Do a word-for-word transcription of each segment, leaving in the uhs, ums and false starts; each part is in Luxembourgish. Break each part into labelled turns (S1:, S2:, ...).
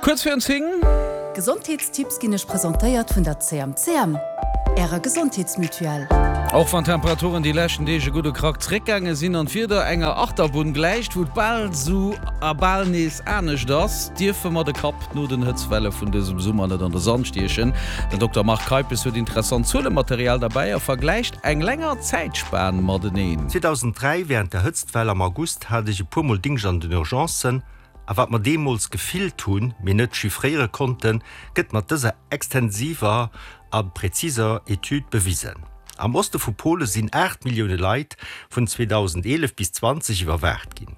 S1: Kuerz virun zéng.
S2: Gesondheetstipps ginn Iech presentéiert vun der C M C M, Ärer Gesondheetsmutuelle.
S1: Och wann d'Temperaturen déi leschten Deeg e gudde Krack zréckgaange sinn an d'Wieder enger Achterbunn gläicht, wou et bal sou a bal nees anescht ass, dierfe mer de Kapp no den Hëtztwelle vun dësem Summer net an de Sand stiechen. Den Dokter Marc Keipes huet interessant Zuelematerial derbäi a vergläicht eng länger Zäitspan mateneen.
S3: zweedausenddräi wärend der Hëtztwell am August hat ech e puer Mol Dingscht an den Urgencen, a wat mer deemools gefillt hunn, mee net chiffréiere konnten, gëtt mat dëser extensiver a präziser Etüd bewisen. Am Oste vu Pole sinn aacht Millioune Leit vun zweedausendeelef bis zwanzeg iwwerwaacht ginn.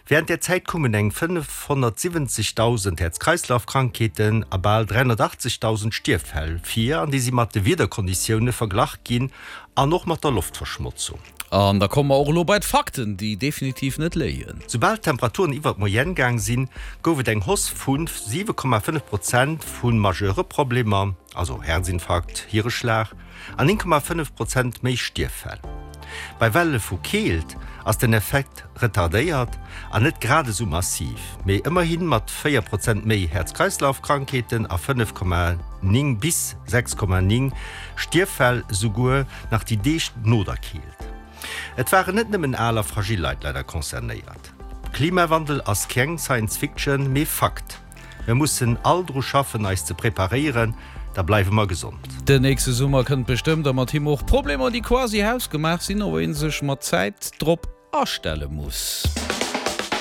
S3: Wärend där Zäit koumen eng fënnefhonnertsiwwenzegdausend Häerz-Kreislauf-Krankheeten a bal dräihonnertachtzegdausend Stierffäll vir, an déi si mat de Wiederkonditioune verglach ginn an och mat der Loftverschmotzung.
S1: An da komme mer och elo bei d'Fakten, déi definitiv net léien.
S3: Soubal d'Temperaturen iwwer d'Moyenne gaang sinn, gouf et eng Hausse vu siwe Komma fënnef Prozent vu majeure Problemer, also Häerzinfarkt, Hireschlag, an néng Komma fënnef Prozent méi Stierffäll. Bei Welle vu Keelt ass den Effekt retardéiert an net grad esou massiv, mee ëmmerhi mat véier Prozent méi Häerz-Kreislauf-Krankheeten a fënnef Komma néng bis sechs Komma néng Stierffäll esouguer nach déi Deeg no der Keelt. Et waren net nëmmen al a fragil Leit leider concernéiert. Klimawandel ass keng Science Fiction, mee Fakt. Mir mussen all dru schaffen eis ze preparéieren, da bleiwe mer gesond.
S1: Den nächste Summer kënnt bestëmmt a mat him och Problemer, déi quasi hausgemaach sinn, op ee sech mat Zäit drop astelle muss.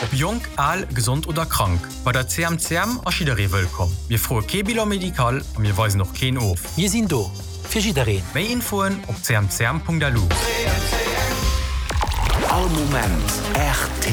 S4: Ob jonk, al, gesond oder krank, bei der C M C M ass jidderee wëllkomm. Mir froe kee Bilan médical a mir weisen och keen of.
S5: Mir sinn do fir jiddereen.
S4: Méi Infoen op C M C M Punkt L U.
S6: All Moment R T L.